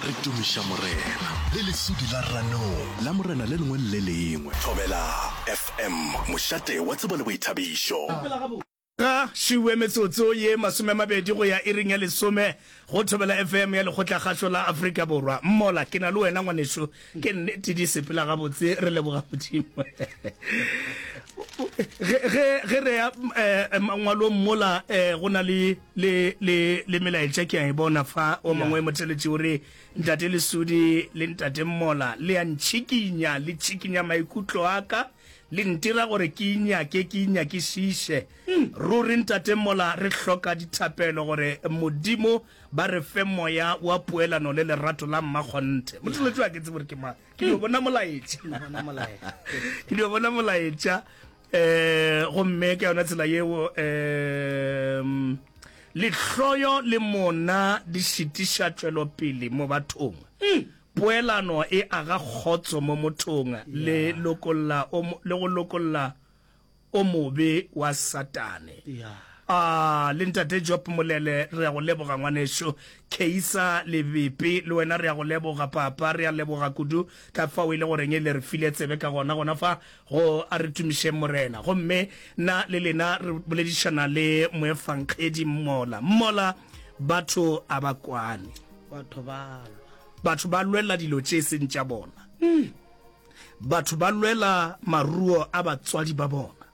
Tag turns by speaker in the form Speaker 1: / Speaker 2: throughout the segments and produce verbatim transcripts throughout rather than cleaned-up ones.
Speaker 1: Re tumiša Morena le lesudi la ranong la Morena le lengwe le le lengwe. Thobela F M, mošate wa tsebo le boithabišo.
Speaker 2: Ga šiwe metsotso ye masomemabedi go ya iring ya lesome go Thobela F M ya Lekgotlakgašo la Afrika Borwa. Mmola, ke na le wena ngwanešu, ke nnete di sepela gabotse, re leboga Modimo. Ge, ge, ge re ya eh, mangwalong mola eh, go na le, le, le, le melaetša ke a e bona fa. O mongwe motheletši o re, "Ntate Lesudi le ntate Mmola, le a ntšhikinya, le tšhikinya maikutlo a ka, le ntira gore ke inyake, ke inyakišiše. Ruri ntate Mmola, re hloka dithapelo gore Modimo ba re fe moya wa poelano le lerato la mmakgonthe." Motheletši wa ke tsebe gore ke mang, ke dio bona molaetša, ke dio bona molaetša um gomme ka yona tsela yeo um lehloyo le mona di šitiša tšwelopele mo bathong. Poelano e aga kgotso mo mothong le lokolla o mo- le go lokolla o mobe wa Satane. A le ntate Job Molele, re ya go leboga ngwanešo. Keisa Lebepe, le wena re ya go leboga papa, re ya leboga kudu ka fao e le goreng e le re file tsebe ka gona gona fa go A re Tumišeng Morena. Gomme nna le lena re boledišana le moefankgedi Mmola. Mmola, batho a ba kwane.
Speaker 3: Batho ba lwa.
Speaker 2: Batho ba lwela dilo tše seng tša bona. Batho ba lwela maruo a batswadi ba bona.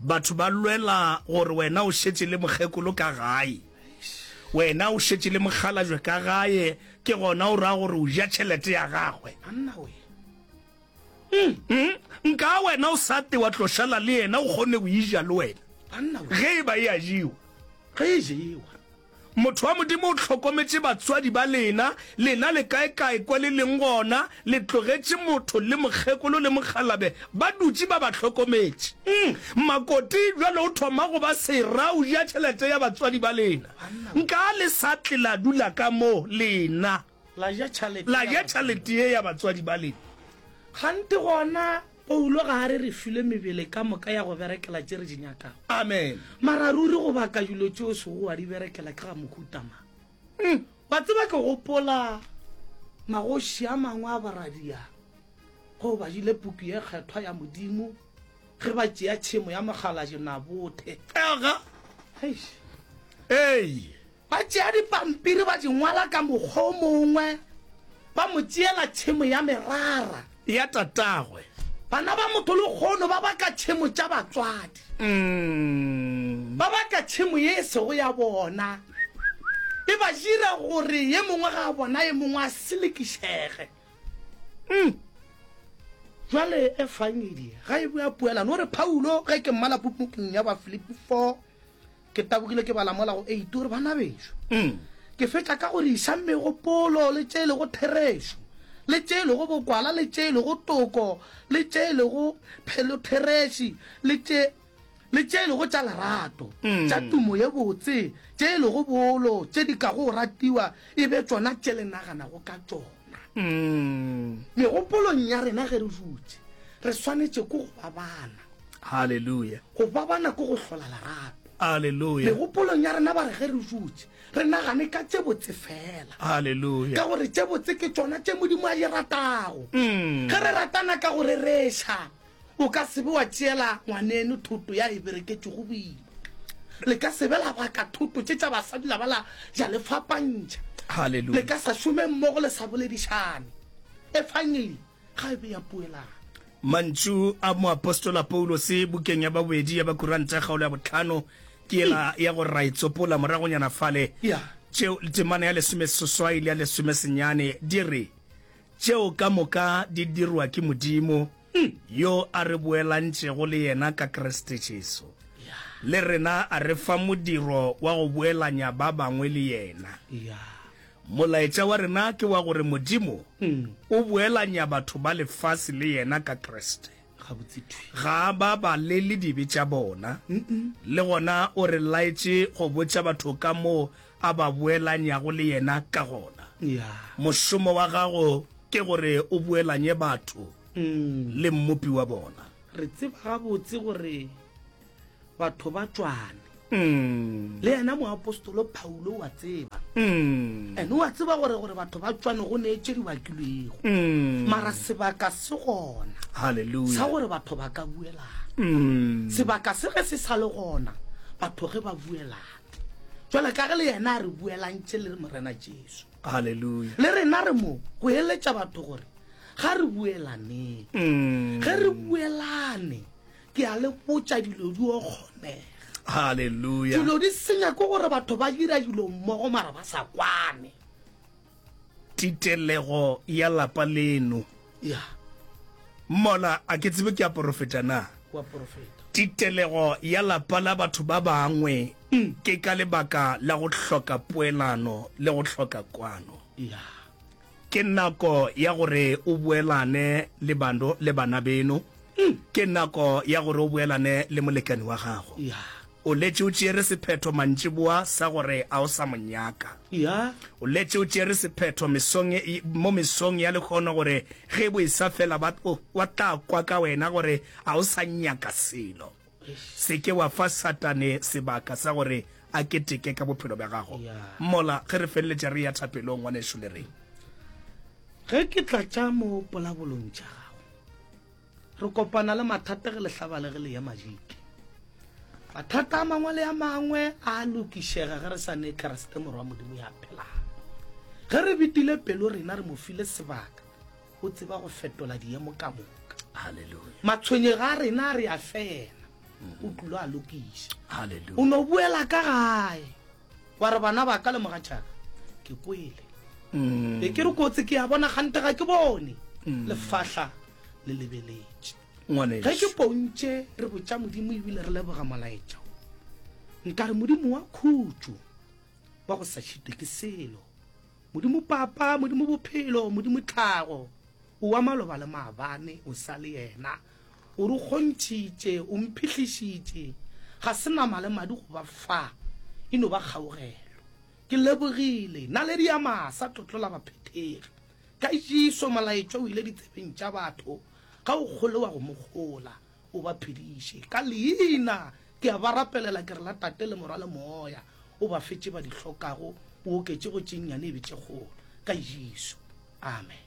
Speaker 2: Batho ba lwela gore wena o šetše le mokgekolo ka gae, wena o šetše le mokgalajwe ka gae, ke gona o ra gore o ja tšhelete ya gagwe.
Speaker 3: Banna we.
Speaker 2: Mm, nka wena o sa te wa tlo šala le yena, o kgone go ija le wena.
Speaker 3: Banna we.
Speaker 2: Ge e ba e a jewa.
Speaker 3: Ge e jewa.
Speaker 2: Motho wa Modimo o hlokometše batswadi ba lena, lena le kaekae kwa le leng gona, le tlogetše motho le mokgekolo le mokgalabe ba dutše ba ba hlokometše. Makoti bjale o thoma go ba sera, o ja tšhelete ya batswadi ba lena. Nka le sa tle la dula ka mo, lena.
Speaker 3: La ja tšhalete
Speaker 2: La
Speaker 3: ya
Speaker 2: ja
Speaker 3: batswadi.
Speaker 2: Tšhalete ye ya batswadi ba lena.
Speaker 3: Kgante gona Paulo ga a re re filwe mebele ka moka ya go berekela tše re di nyakago.
Speaker 2: Amen.
Speaker 3: Mara ruri go baka dilo tše o sego wa di berekela ke ga mohuta mang? Wa tseba, ke gopola magoši a mangwe a boradia go badile puku ye kgethwa ya Modimo ge ba tšea tšhemo ya mokgalabje Nabothe.
Speaker 2: Aga.
Speaker 3: Eish.
Speaker 2: Ei.
Speaker 3: Ba tšea dipampiri ba di ngwala ka mokgwa o mongwe, ba mo tšeela tšhemo ya merara.
Speaker 2: Ya tatagwe.
Speaker 3: Bana ba motho lekgono ba baka tšhemo tša batswadi.
Speaker 2: Mm.
Speaker 3: Ba baka tšhemo ye e sego ya bona. E ba dira gore ye mongwe ga a bona ye mongwe a selekišege.
Speaker 2: Mm.
Speaker 3: Jwale efangedi ga e bua poelano, o re Paulo, ge ke mmala pukung ya Bafilipi four, ke tabogile ke bala mola go eight, o re, "Bana bešo,
Speaker 2: Mm.
Speaker 3: ke fetša ka gore išang megopolo le tše e lego therešo, le tše e lego bokwala, le tše e lego toko, le tše e lego phelothereši, le tše le tše e lego tša lerato, tša tumo ye botse, tše e lego bolo, tše di kago ratiwa, e be tšona tše le naganago ka tšona."
Speaker 2: Mm.
Speaker 3: Megopolong ya rena ge re dutše, re swanetše ke go ba bana.
Speaker 2: Halleluja.
Speaker 3: Go ba bana ke go hlola lerato.
Speaker 2: Halleluja.
Speaker 3: Megopolong ya rena ba re ge re dutše, re nagane ka tše botse fela.
Speaker 2: Halleluja.
Speaker 3: Ka gore tše botse ke tšona tše Modimo a di ratago.
Speaker 2: Mm.
Speaker 3: Ge re ratana ka go rereša, o ka se be wa tšeela ngwaneno thoto ya e bereketšego boima. Le ka se be la baka thoto tše tša basadi la ba la ja le fapantšha.
Speaker 2: Halleluja.
Speaker 3: Le ka sa šome mmogo le sa boledišane. Efangeli ga e be ya poelano.
Speaker 2: Mantšu a moapostola Paulose bukeng ya babedi ya Bakuranta kgaolo ya bohlano ke yela ya gore ra e tsopola moragonyana fale.
Speaker 3: Ya.
Speaker 2: Tšeo temana ya lesomeseswai le ya lesomesenyane di re, "Tšeo ka moka di dirwa ke Modimo, yo a re boelantšego le yena ka Kriste Jesu. Le rena a re fa modiro wa go boelanya ba bangwe le yena."
Speaker 3: Ya.
Speaker 2: Molaetša wa rena ke wa gore Modimo o boelanya batho ba lefase le yena ka Kriste.
Speaker 3: Gabotse thwi.
Speaker 2: Ga a ba balele dibe tša bona, le gona o re laetše go botša batho ka moo a ba boelanyago le yena ka gona.
Speaker 3: Ya.
Speaker 2: Mošomo wa gago ke gore o boelanye batho le Mmopi wa bona.
Speaker 3: Re tseba gabotse gore batho ba tšwane.
Speaker 2: Mm.
Speaker 3: Le yena moapostolo Paulo wa tseba.
Speaker 2: Mm.
Speaker 3: And wa tseba gore gore batho ba tšwane go ne tše di bakilwego.
Speaker 2: Mm.
Speaker 3: Mara sebaka se gona.
Speaker 2: Hallelujah.
Speaker 3: Sa gore batho ba ka buelana.
Speaker 2: Mm.
Speaker 3: Sebaka se ge se sa le gona, batho ge ba buelana. Jwale ka ge le yena a re buelantše le Morena Jesu.
Speaker 2: Hallelujah.
Speaker 3: Le rena re mo go eletša batho gore ga re buelaneng.
Speaker 2: Mm.
Speaker 3: Ge re buelane, ke a le botša dilo di o kgonega.
Speaker 2: Hallelujah.
Speaker 3: Dilo di senya ke gore batho ba dira dilo mmogo mara ba sa kwane.
Speaker 2: Titelego ya lapa leno.
Speaker 3: Ya.
Speaker 2: Mola a ke tsebe ke a porofeta na?
Speaker 3: Wa porofeta.
Speaker 2: Titelego ya lapa la batho ba bangwe
Speaker 3: mm.
Speaker 2: ke ka lebaka la go hloka poelano le go hloka kwano.
Speaker 3: Ya.
Speaker 2: Ke nako ya gore o boelane le bando le bana beno.
Speaker 3: Mm.
Speaker 2: Ke nako ya gore o boelane le molekane wa gago.
Speaker 3: Ya.
Speaker 2: O letše o tšere sephetho mantšiboa sa gore a o sa mo nyaka.
Speaker 3: Ya.
Speaker 2: O letše o tšere sephetho mesong e, mo mesong ya lekgono gore ge bo e sa fela ba o, wa tla kwa ka wena gore a o sa nyaka selo. Se ke wa fa Satane sebaka sa gore a keteke ka bophelo bja gago.
Speaker 3: Ya.
Speaker 2: Mola ge re feleletša re ya thapelong ngwanešu le reng.
Speaker 3: Ge ke tlatša mo polabolong tša gago, re kopana le mathata ge le hlaba le ge le ya majike. Mathata a mangwe le a mangwe a lokišega ge re sa ne Kriste morwa wa Modimo ya phelang. Ge re betile pelo rena re mo file sebaka, o tseba go fetola diemo ka moka.
Speaker 2: Hallelujah.
Speaker 3: Matshwenyego a rena re a fela, o tlilo a lokiša.
Speaker 2: Hallelujah.
Speaker 3: O no buela ka gae wa re bana ba ka le mogatšaka ke kwele.
Speaker 2: Mm.
Speaker 3: E ke re kotsi ke a bona gante ga ke bone. Lefahla le lebeletše.
Speaker 2: Ngwanešu.
Speaker 3: Ge ke pontše re botša Modimo ebile re leboga molaetša. Nka re Modimo wa khutšo wa go sa šitwe ke selo. Modimo papa, Modimo bophelo, Modimo tlhago. O wa maloba le maabane, o sa le yena. O re kgontšhitše, o mphihlišitše. Ga se nama le madi go ba fa, e no ba kgaogelo. Ke lebogile, naledi ya masa, tlotlo la baphethegi. Ka Jesu molaetša o ile ditsebeng tša batho. Ga o kgole wa go mo kgola, o ba phediše. Ka leina ke a ba rapelela, ke re la Tate le Morwa le Moya, o ba fetše ba di hlokago, o oketše go tše nnyane e be tše kgolo. Ka Jesu. Amen.